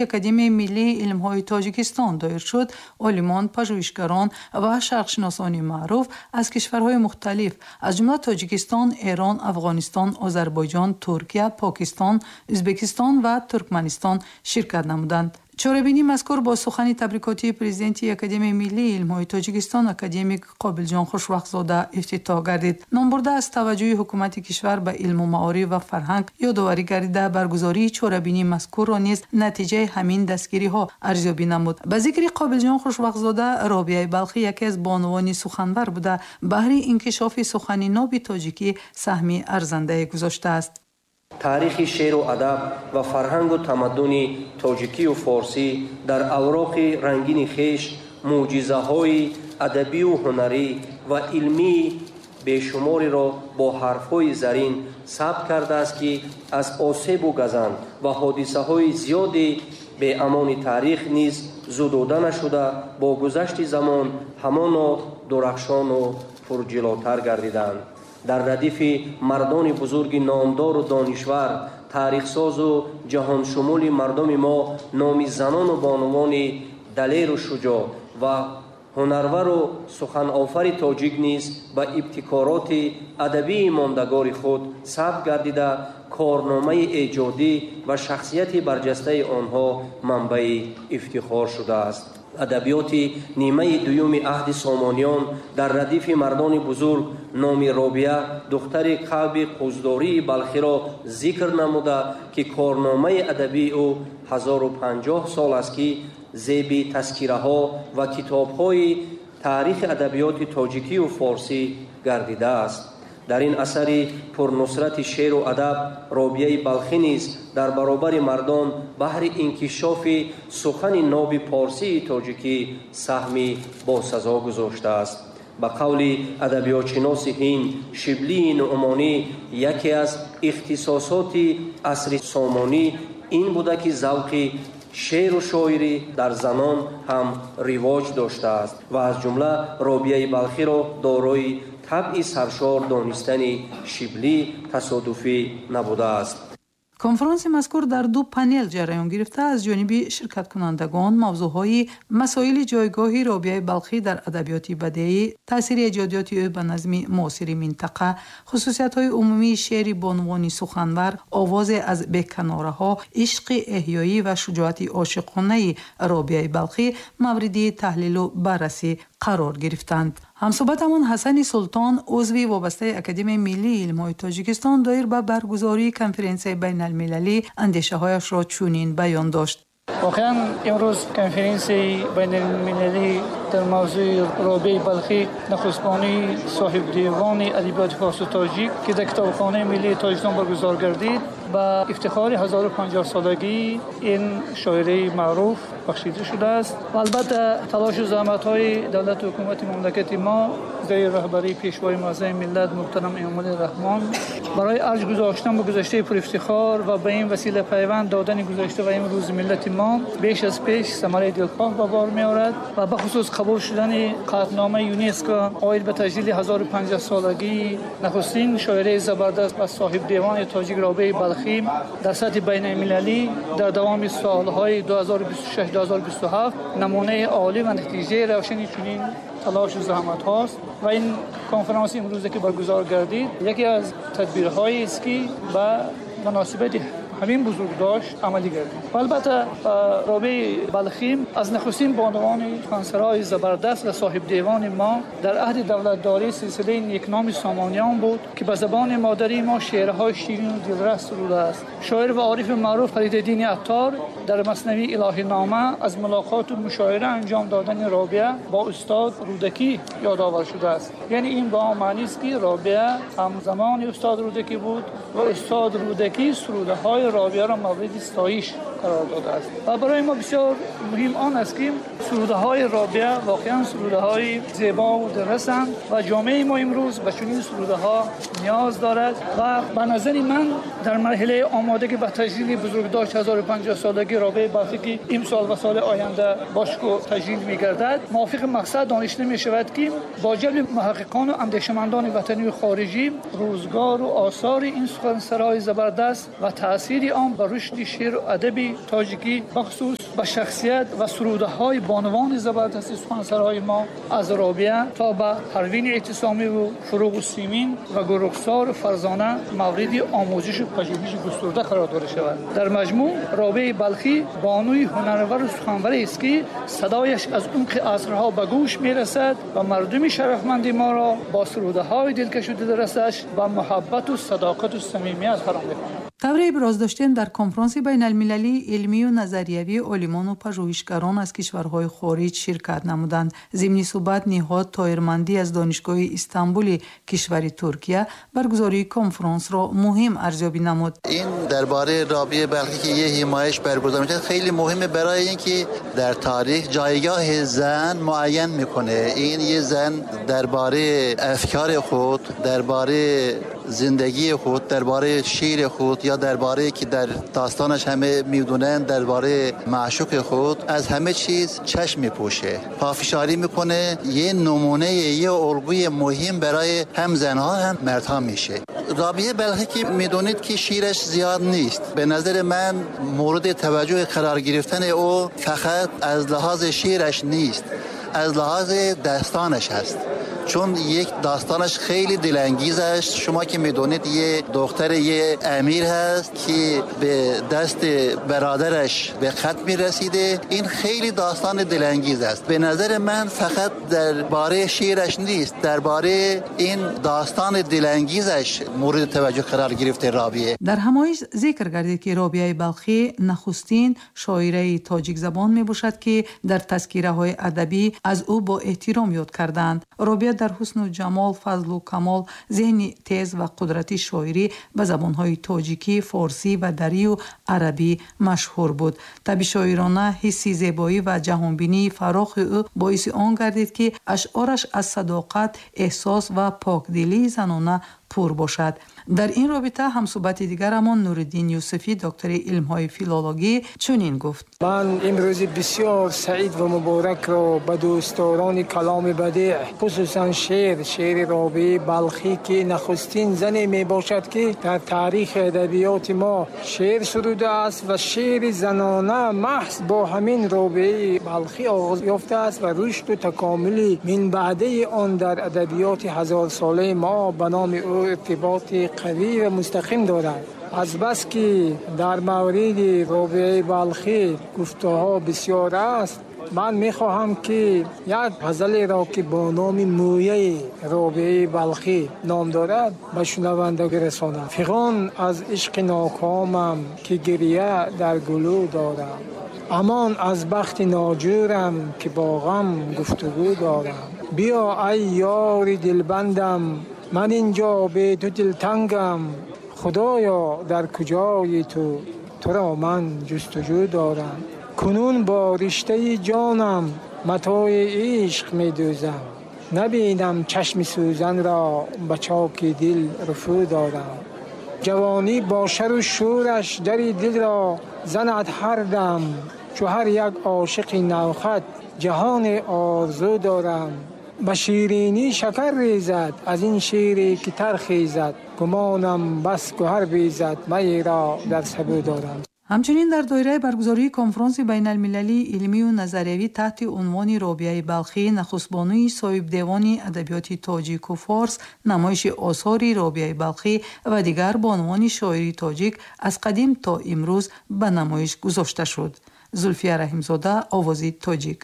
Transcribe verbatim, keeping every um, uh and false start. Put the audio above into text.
Академияи миллии илмҳои Тоҷикистон доир шуд, олимон, пажӯҳишгарон ва шарқшиносони маъруф аз кишварҳои мухталиф, аз ҷумла Тоҷикистон, Эрон, Афғонистон, Озарбойҷон, Туркия, Покистон, Ӯзбекистон ва Туркманистон ширкат намуданд. Чорабинии мазкур бо сухани табрикотии президенти Академияи миллии илмҳои Тоҷикистон, академик Қобилҷон Хушвақтзода ифтитоҳ гардид. Номбурда аз таваҷҷӯҳи ҳукумати кишвар ба илму маориф ва фарҳанг ёдоварӣ гардида, баргузории чорабинии мазкурро низ натиҷаи ҳамин дастгириҳо арзёбӣ намуд. Ба зикри Қобилҷон Хушвақтзода, Робияи Балхӣ яке аз бонувони суханвар буда, баҳри инкишофи сухани ноби тоҷикӣ саҳми арзандае гузоштааст. Таърихи шеъру адаб ва фарҳангу тамаддуни тоҷикию форсӣ дар авроқи рангини хеш мӯъҷизаҳои адабию ҳунарӣ ва илмии бешумореро бо ҳарфҳои зарин сабт кардааст, ки аз осебу газанд ва ҳодисаҳои зиёди беамони таърих низ зудода нашуда, бо гузашти замон ҳамоно дурахшону пурҷилотар гардиданд. Дар радифи мардони бузурги номдору донишвар, таърихсозу ҷаҳоншумули мардуми мо номи занону бонувони далеру шуҷоъ ва ҳунарвару суханофари тоҷик низ ба ибтикороти адабии мондагори худ сабт гардида, корномаи эҷодӣ ва шахсияти барҷастаи онҳо манбаи ифтихор шудааст. Адабиёти нимаи дуюми аҳди Сомониён дар радифи мардони бузург номи Робия, духтари Каъби Қуздории Балхиро зикр намуда, ки корномаи адабии ӯ ҳазору панҷоҳ сол аст, ки зеби тазкираҳо ва китобҳои таърихи адабиёти тоҷикию форсӣ гардидааст. Дар ин асари пурнусрати шеъру адаб Робияи Балхӣ низ дар баробари мардон баҳри инкишофи сухани ноби порсии тоҷикӣ саҳми босазо гузоштааст. Ба қавли адабиётшиноси ҳинд Шиблии Нуъмонӣ, яке аз ихтисосоти асри Сомонӣ ин буда, ки завқи шеъру шоирӣ дар занон ҳам ривоҷ доштааст ва аз ҷумла Робияи Балхиро дорои табъи саршор донистани Шиблӣ тасодуфӣ набудааст. Конфронси мазкур дар ду панел ҷараён гирифта, аз ҷониби ширкаткунандагон мавзӯъҳои масоили ҷойгоҳи Робияи Балхӣ дар адабиёти бадеӣ, таъсири эҷодиёти ӯ ба назми муосири минтақа, хусусиятҳои умумии шеъри бонувони суханвар, овозе аз беканораҳо, ишқи эҳёӣ ва шуҷоати ошиқонаи Робияи Балхӣ мавриди таҳлилу баррасӣ қарор гирифтанд. Ҳамсӯҳбатамон Ҳасани Султон, узви вобастаи Академияи миллии илмҳои Тоҷикистон, доир ба баргузории конференсияи байналмилалӣ андешаҳояшро чунин баён дошт. Воқеан, имрӯз конференсияи байналмилалӣ дар мавзӯи Робияи Балхӣ, нахустбонии соҳибдевони адабиёти форсу тоҷик, ки дар Китобхонаи миллии Тоҷикистон баргузор гардид, ба ифтихори ҳазору панҷоҳ солагии ин шоираи маъруф бахшида шудааст. Ва албатта, талошу заҳматҳои давлату ҳукумати мамлакати мо зери роҳбарии Пешвои муаззами миллат муҳтарам Эмомалӣ Раҳмон барои арҷ гузоштан ба гузаштаи пурафтихор ва ба ин васила пайванд додани гузашта ва имрӯзи миллати мо беш аз пеш самараи дилхоҳ ба бор меорад ва бахусус қабул шудани қатъномаи ЮНЕСКО оид ба таҷлили ҳазору панҷоҳ солагии нахустин шоираи забардаст ва соҳибдевони тоҷик Робияи Балхӣ дар сатҳи байналмилалӣ дар давоми солҳои ду ҳазору бисту шаш ду ҳазору бисту ҳафт намунаи олӣ ва натиҷаи равшани чунин талошу заҳматҳост. Ва ин конференси имрӯзе ки баргузор гардид, яке аз тадбирҳоест, ки ба муносибати ҳамин бузургдошт амалӣ гардид. Ва албатта, Робияи Балхӣ аз нахустин бонувони сухансарои забардаст ва соҳибдевони мо дар аҳди давлатдории силсилаи некноми Сомониён буд, ки ба забони модарии мо шеърҳои ширину дилрас сурудааст. Шоир ва орифи маъруф Фаридуддини Аттор дар маснавии Илоҳинома аз мулоқоту мушоира анҷом додани Робия бо устод Рӯдакӣ ёдовар шудааст. Яъне ин ба он маънист, ки Робия ҳамзамони устод Рӯдакӣ буд ва устод Рӯдакӣ сурудаҳои Робияро мавриди ситоиш қарор додааст. Ва барои мо бисёр муҳим он аст, ки сурудаҳои Робия воқеан сурудаҳои зебо ва дилрасанд ва ҷомеаи мо имрӯз ба чунин сурудаҳо ниёз дорад. Ва ба назари ман, дар марҳилаи омодагӣ ба таҷлили бузургдошт ҳазору панҷоҳ солагии Робияи Балхӣ, ки имсол ва соли оянда бошкӯ таҷлил мегардад, мувофиқи мақсад доништа мешавад, ки бо ҷалби муҳаққиқону андешамандони ватанию хориҷӣ рӯзгору осори ин сухансарои забардаст ва таъсир تشدید آن به رشد شعر و ادب تاجیکی بخصوص به شخصیت و سروده های بانوان زبردست سخنسرای ما از رابعه تا به پروین اعتصامی و فروغ سیمین و گلرخسار فرزانه مورد آموزش و پژوهش گسترده قرار داده شود. در مجموع رابعه بلخی بانوی هنرور و سخنور است که صدایش از عمق عصرها به گوش میرسد و مردم شرفمند ما را با سروده های دلکش و دلرسش با محبت و صداقت و صمیمیت فرا می‌خواند. Тавре иброз доштем, дар конфронси байналмилалии илмию назариявии олимону пажӯҳишгарон аз кишварҳои хориҷ ширкат намуданд. Зимни суҳбат Ниҳод Тоирмандӣ аз Донишгоҳи Истанбули кишвари Туркия баргузории конфронсро муҳим арзёбӣ намуд. این درباره رابعه بلخی که یه حمایش برگزار میشه خیلی مهمه، برای اینکه در تاریخ جایگاه زن معین میکنه. این یه زن درباره افکار خود، درباره زندگی خود، درباره شعر خود یا درباره که در داستانش همه میدونن، درباره معشوق خود از همه چیز چشم میپوشه، پافشاری میکنه. یه نمونه، یه الگوی مهم برای هم زنها هم مردها میشه. رابعه بلخی که میدونید که شعرش زیاد نیست، به نظر من مورد توجه قرار گرفتن او فقط از لحاظ شعرش نیست، از لحاظ داستانش هست. چون یک داستانش خیلی دلانگیز است. شما که میدونید یه دختر یه امیر هست که به دست برادرش به قتل میرسیده. این خیلی داستان دلانگیز است. به نظر من فقط درباره شعرش نیست، درباره این داستان دلانگیزش مورد توجه قرار گرفته رابعه. در همایش ذکر گردید که رابعه بلخی نخستین شاعره تاجیک زبان میباشد که در تذکره های ادبی از او با احترام یاد کردند. رابعه در حسن و جمال، فضل و کمال، ذهن تیز و قدرت شاعری به زبانهای تاجیکی، فارسی و دری و عربی مشهور بود. طبع شاعرانه، حس زیبایی و جهانبینی فراخ او باعث آن گردید که اشعارش از صداقت، احساس و پاکدلی زنانه پر باشد. در این رابطه همصحبت دیگرمان نورالدین یوسفی، دکتر علم‌های فیلولوژی، چنین گفت: من امروز بسیار سعید و مبارک را به دوستداران کلام بدیع، خصوصا شعر شعر رابعه بلخی که نخستین زنی می باشد که در تاریخ ادبیات ما شعر سروده است و شعر زنانه محض با همین رابعه بلخی آغاز یافته است و رشد و تکامل من بعده آن در ادبیات هزار ساله ما به نام او ارتباط قوی و مستقیم دارد. از بس که در مورد رابعه بلخی گفته‌ها بسیار است، من میخواهم که یک غزل را که با نام مویه رابعه بلخی نام دارد به شنونده برسانم. فغان از عشق ناکامم که گریه در گلو دارم، امان از بخت ناجورم که با غم گفتگو دارم. بیا ای یار دلبندم، من اینجا به تو دلتنگم، خدایا در کجای تو، تو را من جستجو دارم. کنون با رشته جانم متاع عشق می دوزم، نبینم چشم سوزن را به چاک دل رفو دارم. جوانی با شر و شورش در دل را زند هر دم، چو هر یک عاشق نوخط جهان آرزو دارم. به شیرینی شکر ریزد از این شیری که ترخیزد، گمانم بس گوهر بیزد می را در سبو دارم. ҳамчунин дар доираи баргузории конфронси байналмилалии илмию назариявӣ таҳти унвони Робиаи Балхӣ, нахустбонуи соҳибдевони адабиёти тоҷику форс, намоиши осори Робиаи Балхӣ ва дигар бонувони шоири тоҷик аз қадим то имрӯз ба намоиш гузошта шуд. Зулфия Раҳимзода, Овози Тоҷик.